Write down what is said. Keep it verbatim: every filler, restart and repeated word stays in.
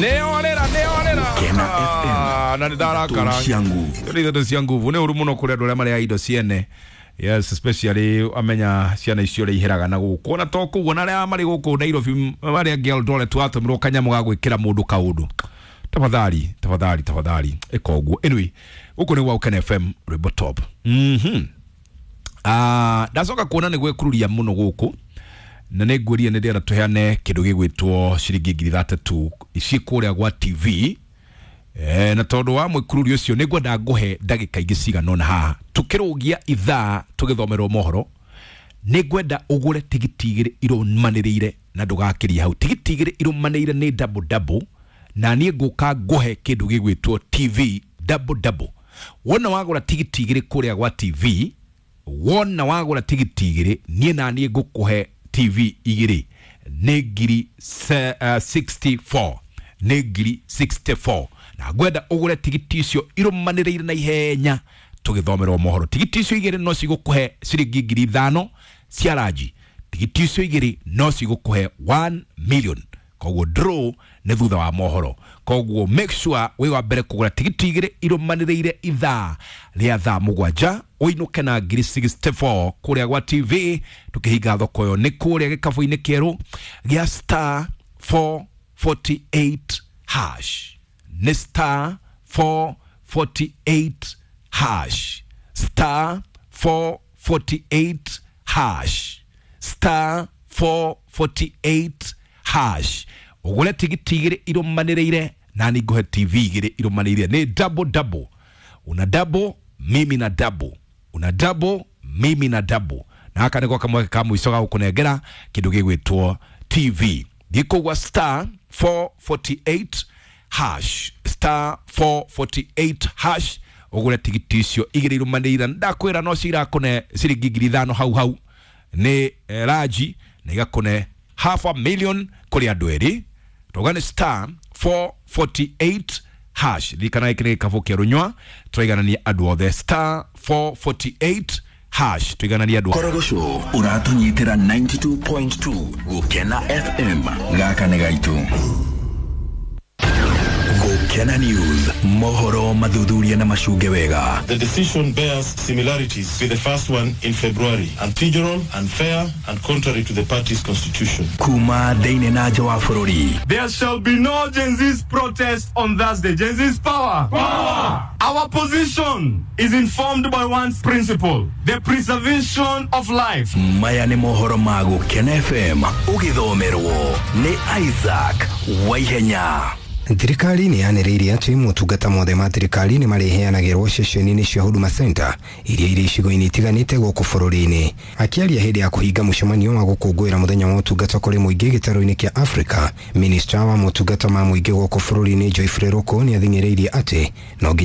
Nĩorĩra, nĩorĩra. Gũkena F M. Na nĩ ndarakara. Cia nguvu. Nĩ ithatũ cia nguvu. Nĩ ũru mũno kũrĩ andũ arĩa marĩa indo ciene. Yes, especially amenya ciana icio ũrĩa iheraga na gũkũ, ona to kũu, ona arĩa marĩ gũkũ Nairobi, marĩa angĩ Eldoret, watũmĩrwo kanyamũ ga gwĩkĩra mũndũ kaũndũ, tafadhali, tafadhali, tafadhali, ĩka ũguo. Anyway, gũkũ nĩ gwa Gũkena F M, rwĩmbo top. mhm Ah, ndacoka kuona nĩ gwĩkururia mũno gũkũ, na nĩ ngwĩrire nĩ ndĩrenda tũheane kĩndũ gĩgwĩtwo ciringi ngiri ithathatũ ici kũrĩa gwa T V. Eh, na tondũ wa mwĩkururio ũcio, nĩ ngwenda ngũhe ndagĩka ingĩ cigana ũna haha tũkĩrũgia ithaa tũgĩthomerwo mohoro. Nĩ ngwenda ũgũre tigiti igĩrĩ irũmanĩrĩire na ndũgakĩrie hau. Tigiti igĩrĩ irũmanĩrĩire nĩ double double, na niĩ ngũka ngũhe kĩndũ gĩgwĩtwo T V double double. Wona wagũra tigiti igĩrĩ kũrĩa gwa T V, wona wagũra tigiti igĩrĩ, niĩ na niĩ ngũkũhe T V igĩrĩ, nĩ ngiri se- uh, sixty-four, nĩ ngiri sixty-four. Na ngwenda ũgũre tigiti icio irũmanĩrĩire na ihenya tũgĩthomerwo mohoro. Tigiti icio igĩrĩ no cigũkũhe ciringi ngiri ithano cia ranji. Tigiti icio igĩrĩ no cigũkũhe one million. Koguo draw nĩ thutha wa mohoro. Koguo make sure wĩ wa mbere kũgũra tigiti igĩrĩ irũmanĩrĩire ithaa rĩa thaa mũgwanja, ũinũke na ngiri sixty-four kũrĩa gwa T V. Tũkĩhinga thoko ĩyo nĩ kũrĩa gĩkabũ-inĩ kĩerũ gĩa star four forty-eight hash. Nĩ star four forty-eight hash, star four forty-eight hash, star four forty-eight hash, ũgũre tigiti igĩrĩ irũmanĩrĩire, na nĩ ngũhe T V igĩrĩ irũmanĩrĩire, nĩ double double. Una double, mimi na double, una double, mimi na double. Na haka nĩko kamwe ka mũico ga gũkũnengera kĩndũ gĩgwĩtwo T V. Thiĩ kũgwa star four forty-eight hash, star four forty-eight hash, ũgũre tigiti icio igĩrĩ irũmanĩrĩire. Ndakwĩra no cirakũne ciringi ngiri ithano hau hau nĩ eh, ranji, na igakũne half a million kũrĩ andũ erĩ. Tauga nĩ star four forty-eight hash. Ririkana gĩkĩ nĩ gĩkabũ kĩa rũnywa, tũraiganania andũ othe. Star four forty-eight hash, tũigananie andũ othe. Korogoco ũratũnyitĩra ninety-two point two Gũkena F M. Gaka nĩ gaitũ. Gũkena News, mohoro mathuthuria na macunge wega. The decision bears similarities with the first one in February: unprocedural, unfair, and contrary to the party's constitution. Kuma thĩinĩ na nja wa bũrũri. There shall be no Gen Z's protest on Thursday. Gen Z's power. Power. Our position is informed by one principle: the preservation of life. Maya nĩ mohoro ma Gũkena F M, ũgĩthomerwo nĩ Isaac Waihenya. Thirikari nĩ yanĩrĩire atĩ motungata mothe ma thirikari nĩ marĩheanagĩrwo ceceni-inĩ cia Huduma Center iria irĩ icigo-inĩ itiganĩte gũkũ bũrũri-inĩ. Akĩaria hĩndĩ ya kũhinga mũcemanio wa gũkũngũĩra mũthenya wa ũtungata kũrĩ mũingĩ gĩtarũ-inĩ kĩa Africa, minista wa motungata ma mũingĩ gũkũ bũrũri-inĩ Joyfrey Ruku nĩ athing'ĩrĩirie atĩ no nginya